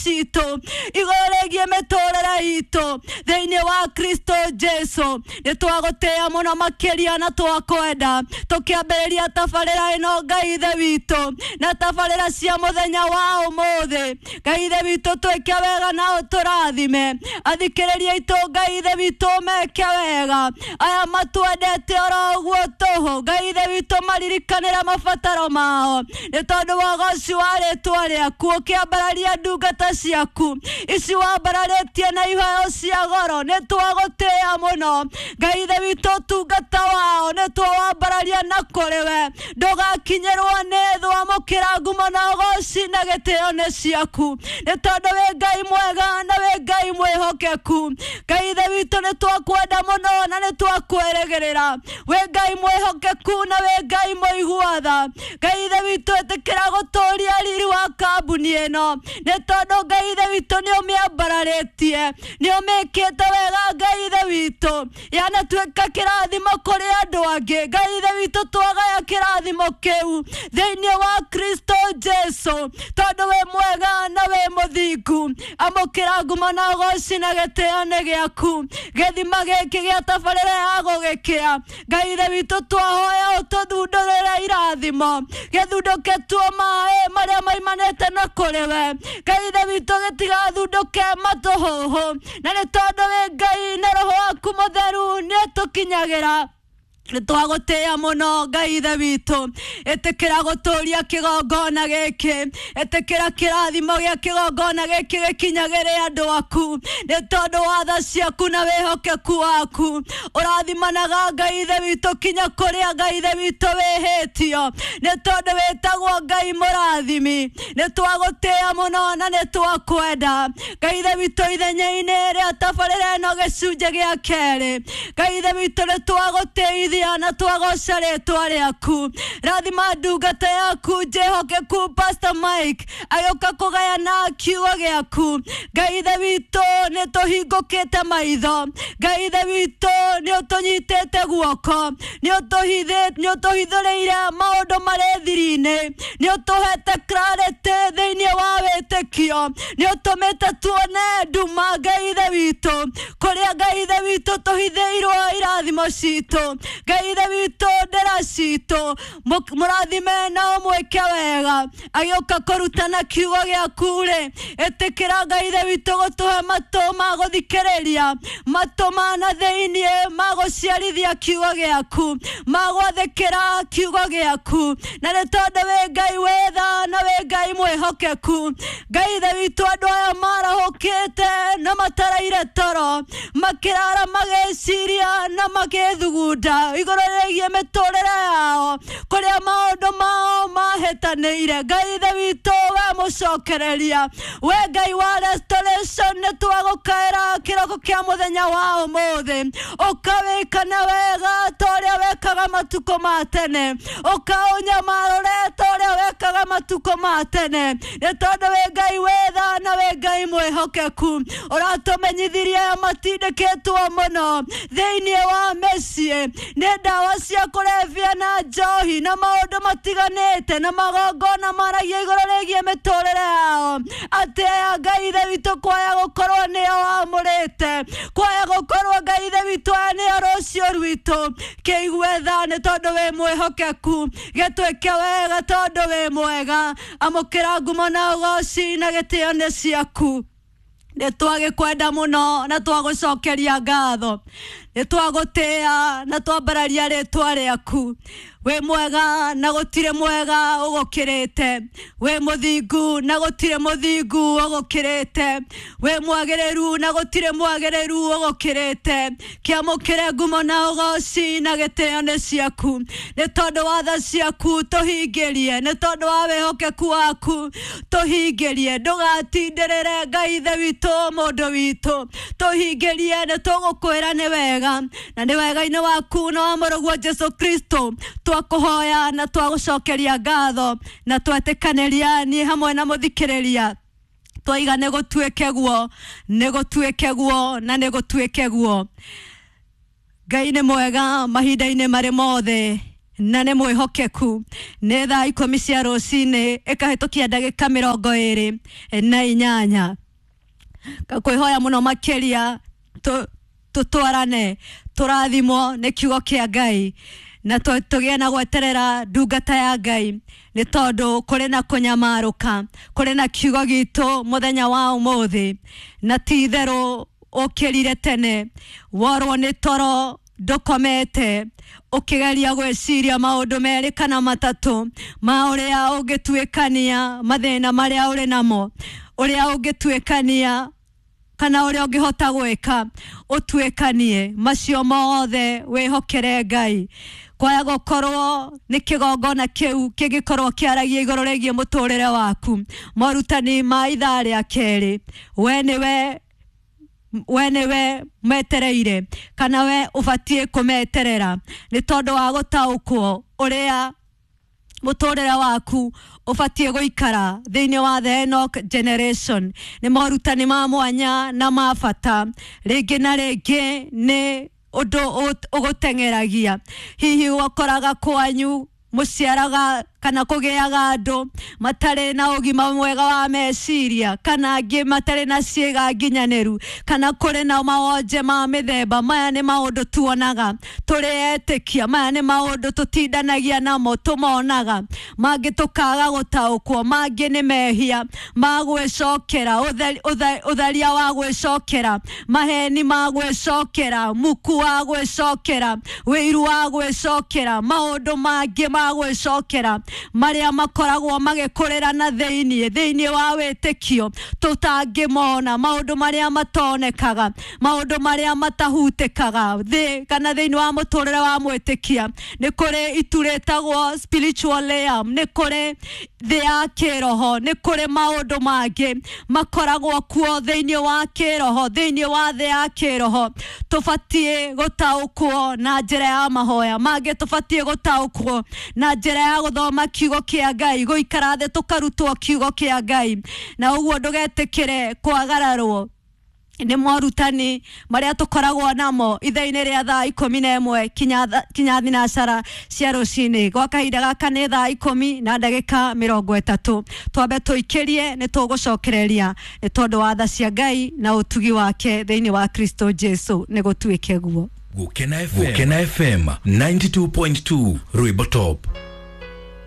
Citũ igũrũ rĩgiĩ mĩtũrĩre itũ thĩinĩ wa Kristo Jesu. Nĩ twagũtĩĩa mũno makĩria na twakwenda tũkĩambĩrĩria tabarĩra ĩno, Ngai Ithe witũ, na tabarĩra cia mũthenya wa ũmũthĩ. Ngai Ithe witũ, twĩke wega na ũtũrathime. Athikĩrĩria itũ, Ngai Ithe witũ, meke wega. Aya matwendete oro ũguo tũhũ, Ngai Ithe witũ, maririkanĩre mabataro mao nĩ tondũ wa ũgoci wa rĩtwa rĩaku. Ũkĩambararia ndungata ciaku ici wambararĩtie na iheo cia goro, nĩ twagũtĩĩa mũno, Ngai Ithe witũ. Ũtungata wao nĩ twawambararia na kũrĩ we, ndũgakinyĩrwo nĩ thũ. Amũkĩra ngumo na ũgoci na gĩtĩo nĩ ciaku, nĩ tondũ wĩ Ngai mwega na wĩ Ngai mwĩhokeku. Ngai Ithe witũ, nĩ twakwenda mũno na nĩ twakwĩrĩgĩrĩra. Wĩ Ngai mwĩhokeku na wĩ Ngai mũigua tha. Ngai Ithe witũ, ĩtĩkĩra gũtũria riri wa kambuni ĩno, nĩ tondũ, Ngai Ithe witũ, nĩ ũmĩambararĩtie, nĩ ũmĩkĩte wega. Ngai Ithe witũ, yanatuĩka kĩrathimo kũrĩ andũ angĩ. Ngai Ithe witũ, twagaya kĩrathimo kĩu thĩinĩ wa Kristo Jesu, tondũ wĩ mwega na wĩ mũthingu. Amũkĩra ngumo na ũgoci na gĩtĩo nĩ gĩaku. Gĩthima gĩkĩ gĩa tabarĩra ya gũgĩkĩa, Ngai Ithe witũ, twahoya ũtũthundũrĩre irathimo, gĩthundũke tuo maĩ marĩa maimanĩte na kũrĩ we. Ngai Ithe witũ, gĩtigathundũke matũhũhũ, na nĩ tondũ wĩ Ngai na Roho waku Mũtheru nĩ tũkinyagĩra. Nĩ twagũtĩĩa mũno, Ngai Ithe witũ. Ĩtĩkĩra gũtũria kĩgongona gĩkĩ, ĩtĩkĩra kĩrathimo gĩa kĩgongona gĩkĩ gĩkinyagĩre andũ aku, nĩ tondũ wa tha ciaku na wĩhokeku waku. Ũrathimanaga, Ngai Ithe witũ, kinya kũrĩa, Ngai Ithe witũ, wĩhĩtio, nĩ tondũ wĩtagwo Ngai mũrathimi. Nĩ twagũtĩĩa mũno na nĩ twakwenda, Ngai Ithe witũ. Ithenya-inĩ rĩa tabarĩra ĩno gĩcunjĩ gĩa kerĩ, Ngai Ithe witũ, nĩ twagũtĩithia na twagoca rĩtwa rĩaku. Rathima ndungata yaku njĩhokeku, Pastor Mike, agĩũka kũgayana kiugo gĩaku. Ngai Ithe witũ, nĩ tũhingũkĩte maitho. Ngai Ithe witũ, nĩ ũtũnyitĩte guoko, nĩ ũtũhithũrĩire maũndũ marĩ thiri-inĩ, nĩ ũtũhete clarity thĩinĩ wa wĩtĩkio, nĩ ũtũmĩte tuone nduma, Ngai Ithe witũ, kũrĩa, Ngai Ithe witũ, tũhithĩirwo irathimo citũ. Ngai Ithe witũ, ndĩra citũ, mũrathime na ũmwĩke wega agĩũka kũrutana kiugo gĩaku rĩ. Ĩtĩkĩra, Ngai Ithe witũ, gũtũhe matũ ma gũthikĩrĩria, matũ ma na thĩiniĩ ma gũciarithia kiugo gĩaku, ma gwathĩkĩra kiugo gĩaku, na nĩ tondũ wĩ Ngai wĩ tha na wĩ Ngai mwĩhokeku. Ngai Ithe witũ, andũ aya marahũkĩte na mataraire toro, makĩrara magĩciria na magĩthugunda igũrũ rĩgiĩ mĩtũrĩre yao, kũrĩa maũndũ mao mahĩtanĩire, Ngai Ithe witũ, we mũcokereria, we Ngai wa restoration, nĩ twagũkaĩra kĩroko kĩa mũthenya wa ũmũthĩ. Ũkawĩkana wega ta ũrĩa wekaga matukũ ma tene, ũkaũnyamarũre ta ũrĩa wekaga matukũ ma tene, nĩ tondũ wĩ Ngai wĩ tha na wĩ Ngai mwĩhokeku. Ũratũmenyithirie matindĩkĩtwo mũno thĩinĩ wa mĩciĩ nĩ ndawa cia kũrebia na njohi na maũndũ matiganĩte na magongona maragia igũrũ rĩgiĩ mĩtũrĩre yao, atĩ aya, Ngai Ithe witũ, kwaya gũkorwo nĩo wamũrĩte, kwaya gũkorwo, Ngai Ithe witũ, aya nĩo rũciũ rwitũ. Kĩigue tha, nĩ tondũ wĩ mwĩhokeku. Gĩtwĩke wega, tondũ wĩ mwega. Amũkĩra ngumo na ũgoci na gĩtĩo nĩ ciaku. Nĩ twagĩkwenda mũno na twagũcokeria ngatho, nĩ twagũtĩĩa na twambararia rĩtwa rĩaku. Wĩ mwega na gũtirĩ mwega ũgũkĩrĩte, wĩ mũthingu na gũtirĩ mũthingu ũgũkĩrĩte, wĩ mwagĩrĩru na gũtirĩ mwagĩrĩru ũgũkĩrĩte. Kĩamũkĩre ngumo na ũgoci na gĩtĩo nĩ ciaku, nĩ tondũ wa tha ciaku tũhingĩrie, nĩ tondũ wa wĩhokeku waku tũhingĩrie. Ndũgatindĩrĩre, Ngai Ithe witũ, mũndũ witũ, tũhingĩrie. Nĩ tũgũkwĩra nĩ wega, na nĩ wega-inĩ waku na wa mũrũguo Jesu Kristo twakũhoya na twagũcokeria ngatho na twetĩkanĩria niĩ hamwe na mũthikĩrĩria, twaiga nĩ gũtuĩke guo, nĩ gũtuĩke guo, na nĩ gũtuĩke guo. Ngai nĩ mwega mahinda-inĩ marĩ mothe. Na nĩ mwĩhokeku. Nĩ thaa 10 cia rũcinĩ ĩkahĩtũkia ndagĩka 28. Kwĩhoya mũno makĩria tũtwarane tũrathimwo nĩ kiugo kĩa Ngai na tũgĩe na gweterera ndungata ya Ngai nĩ tondũ kũrĩ na kũnyamarũka, kũrĩ na kiugo gitũ mũthenya wa ũmũthĩ, na ti itherũ ũkĩrire tene worwo nĩ toro ndũkomete ũkĩgeria gwĩciria maũndũ merĩ kana matatũ ma ũrĩa ũngĩtuĩkania mathĩna marĩa ũrĩ namo, ũrĩa ũngĩtuĩkania kana ũrĩa ũngĩhota gwĩka ũtuĩkanie macio mothe wĩhokere Ngai. Kwaya gũkorwo nĩ kĩgongona kĩu kĩngĩkorwo kĩaragia igũrũ rĩgiĩ mũtũrĩre waku. Morutani ma ithaa rĩa kerĩ, we nĩwe metereire kana we ũbatiĩ kũmeterera nĩ tondũ wa gũtaũkwo ũrĩa mũtũrĩre waku ũbatiĩ gũikara thĩinĩ wa the Enoch generation. Nĩ morutani ma mwanya na ma bata, rĩngĩ na rĩngĩ nĩ ũndũ ũgũteng'eragia. Hihi ũkoraga kwanyu mũciaraga kana kũgĩaga andũ matarĩ na ũgima mwega wa meciria, kana angĩ matarĩ na ciĩga nginyanĩru, kana kũrĩ na mawonje ma mĩthemba. Maya nĩ maũndũ tuonaga tũrĩ etĩkia, maya nĩ maũndũ tũtindanagia namo, tũmonaga, mangĩ tũkaga gũtaũkwo, mangĩ nĩ mehia ma gwĩcokera, ũtharia wa gwĩcokera, maheni ma gwĩcokera, muku wa gwĩcokera, wĩiru wa gwĩcokera, maũndũ mangĩ ma gwĩcokera marĩa makoragwo magĩkũrĩra na thĩinĩ wa wĩtĩkio tũtangĩmona, maũndũ marĩa matonekaga, maũndũ marĩa matahutĩkaga thĩ kana thĩinĩ wa mũtũrĩre wa mwĩtĩkia. Nĩ kũrĩ itu rĩtagwo spiritual realm, nĩ kũrĩ thĩ ya kĩroho, nĩ kũrĩ maũndũ mangĩ makoragwo kuo thĩinĩ wa kĩroho, thĩinĩ wa thĩ ya kĩroho. Tũbatiĩ gũtaũkwo na njĩra ya mahoya, mangĩ tũbatiĩ gũtaũkwo na njĩra ya gũthoma kiugo kĩa Ngai, gũikara thĩ tũkarutwo kiugo kĩa Ngai. Na ũguo ndũgetĩkĩre kwagararwo nĩ morutani marĩa tũkoragwo namo ithaa-inĩ rĩa thaa 11 kinya thinacara cia rũcinĩ. Gwa kahinda gaka nĩ thaa 10 na ndagĩka 30. Twambe tũikĩrie, nĩ tũgũcokereria nĩ tondũ wa tha cia Ngai na ũtugi wake thĩinĩ wa Kristo Jesu. Nĩ gũtuĩke guo. Gukena FM, Gukena FM 92.2 Rwimbo Top.